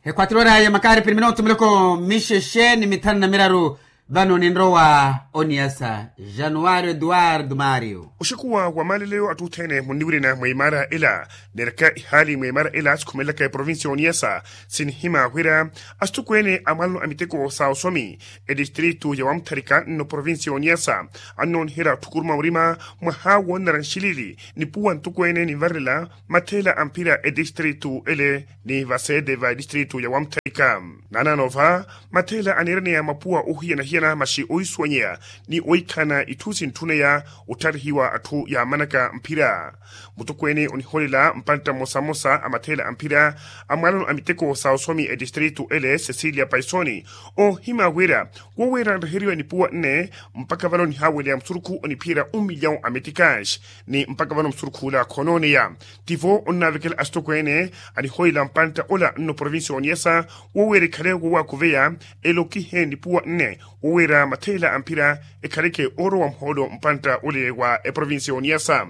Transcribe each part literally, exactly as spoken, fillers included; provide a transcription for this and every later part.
Ekhwatiro oraya makaari piri minootu miloko mixexe ni mithanu na miraru. Vano ninrowa oniyasa januwari eduwardo mario. Oxikuwa wa maaleleyo atthu othene munniwirina mwa imaara ela. Neeraka ihaali mwa imaara ela sikhumelelaka eprovincia ya oniyasa, sinihima wira asitokweene a mwalano a miteko sa osomi, etistritu ya wamutharika nno provincia ya oniyasa, annooniherya otthukuruma murima mwaha woonanara nxilili nipuwa ntokweene ninvarerela matheela a mphira etistritu ele ni vaseete va etistritu ya wamutharika. Naanaano va matheela aniiraneya mapuwa oohiyana-hiyana maxi oohisuwanyeya ni oohikhalana itthu sintthuneya ottharihiwa atthu yaamanaka mphira. Mutokweene onihoolela mpantta mmosa-mmosa a matheela a mphira a mwalano a miteko sa osomi etistritu ele cecilia paisoni, oohima wira woweera anreheriwa nipuwa nne mpakha vano nihaaweleya musurukhu oniphiyerya un million a meticas, ni mpakha vano musurukhu ola khonooneya. Tivo onnaavekela asitokweene anihoolela mpantta ola nno provincia ya oniyasa woweera ekhale wowaakuveya elokihe nipuwa nne woweera matheela a mphira ekhaleke oorowa muhoolo mpantta ole wa eprovincia ya oniyasa.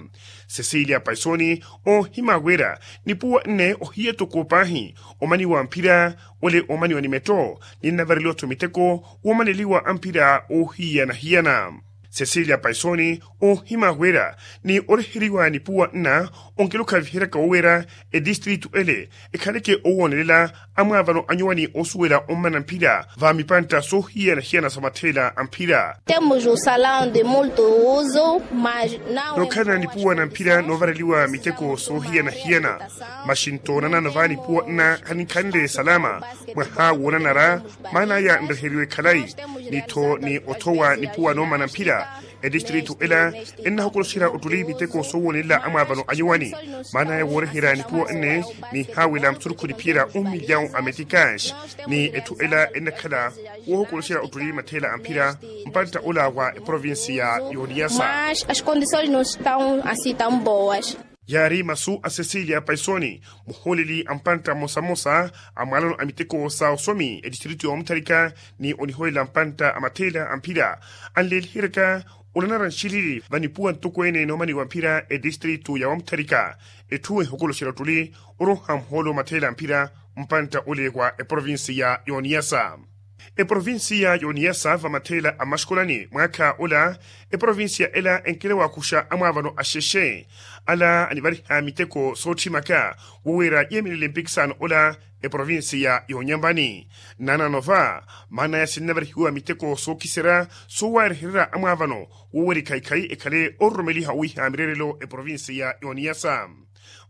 Cecilia paisoni oohima wira nipuwa nne ohiya toko paahi omaniwa mphira ole omaniwa ni metto, ninnavareliwa-tho miteko woomaneliwa a mphira oohiyana-hiyana. Cecilia paisoni oohima wira ni oreheriwa nipuwa nna onkelo khaviheryaka woweera etistritu ele ekhaleke owoonelela amwaavano anyuwani oosuwela ommana mphira va mipantta soohiyana-hiyana sa matheela a mphira. Temos o salão de multo uso mas não. Nookhalana nipuwa na mphira noovareliwa miteko soohiyana-hiyana, maxi nto nanano va nipuwa nna khaninkhanle salama mwaha woonanara maana aya nreheriwe khalayi, ni-tho ni othowa nipuwa noomana mphira. Etistritu ela ennahokoloxerya ottuli miteko soowoonelela amwaavano anyuwani, maana aya wooreherya nipuwa nne nihaawela musurukhu niphiyerya un million a meticas, ni etthu ela ennakhala woohokoloxerya ottuli matheela a mphira mpantta ola wa eprovincia ya oniyasa. Mas as condições não estão assim tão boas. Yaari masu a cecilia paisoni muhooleli a mpantta mmosa-mmosa a mwalano a miteko sa osomi etistritu ya omutharika, ni onihoolela mpantta a matheela a mphira anleeliheryaka onanara nxilili va nipuwa ntokweene noomaniwa mphira etistritu ya wamutharika. Etthu ehokoloxerya ottuli oroha muhoolo matheela a mphira mpantta ole wa eprovincia ya oniyasa. Eprovincia ya oniyasa va matheela a maxkolani mwaakha ola, eprovincia ela enkela waakuxa amwaavano axexe ala anivariha miteko sootthimaka woweera yeemelele mpikisano ola eprovincia ya onyambani. Naanaano va maana aya sinnavarihiwa miteko sookiserya soowarehererya amwaavano woweera ekhaikhai ekhale ororomeliha owiiha mireerelo eprovincia ya oniyasa.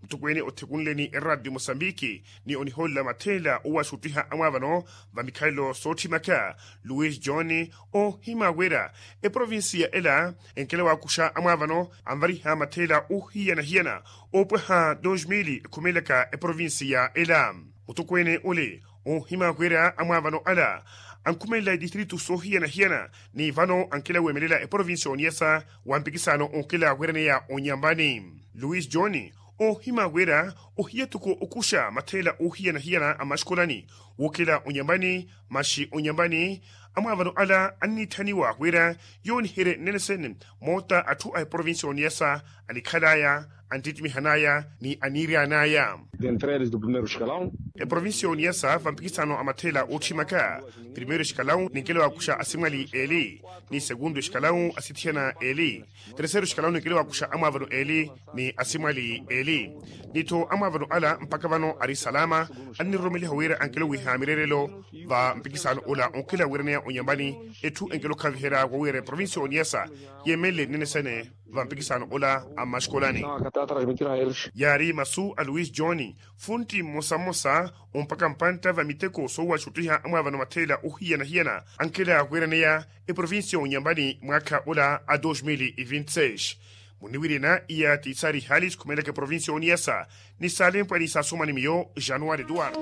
Mutokweene othekunleni eradio mosambiki ni onihoolela matheela owaxuttiha amwaavano va mikhalelo sootthimakha luis john, oohima wira eprovincia ela enkela waakuxa amwaavano anvariha matheela oohiyana-hiyana oopwaha dos mil ekhumelelaka eprovincia ela. Mutokweene ole oohima wira amwaavano ala ankhumelela etistritu soohiyana-hiyana ni vano ankela weemelela eprovincia oniyasa wa mpikisano onkela wiraneya onyambani. Luis john oohima wira ohiya toko okuxa matheela oohiyana-hiyana a maxkolani wookela onyambani, maxi onyambani amwaavano ala anniitthaniwa wira yooniherye nnene sene moota atthu a eprovincia oniyasa anikhalaya anttitimihanaya ni aniiryanaya. Eprovincia oniyasa va mpikisano a matheela ootthimaka primeiro escalão ninkela waakuxa asimwali eeli, ni segundo escalão asithiyana eeli, terceiro escalão ninkela waakuxa amwaavano eeli ni asimwali eeli. Ni-tho amwaavano ala mpakha vano ari salama anniroromeliha wira ankela owiiha mireerelo va mpikisano ola onkela wiraneya onyambani. Etthu enkela okhaviherya wowiira eprovincia oniyasa yeemelele nnene sene va mpikisano ola a mmaxikolani. Yaari masu a luis john funtti mmosa-mmosa ompaka mpantta va miteko soowaxuttiha amwaavano matheela ohiyana-hiyana ankela wiraneya eprovincia onyambani mwaakha ola a dos mil e vinte seis. Muniwirina iya ti sari hali sikhumelaka eprovincia oniyasa ni saalempwani saasumani miyo januari eduardo.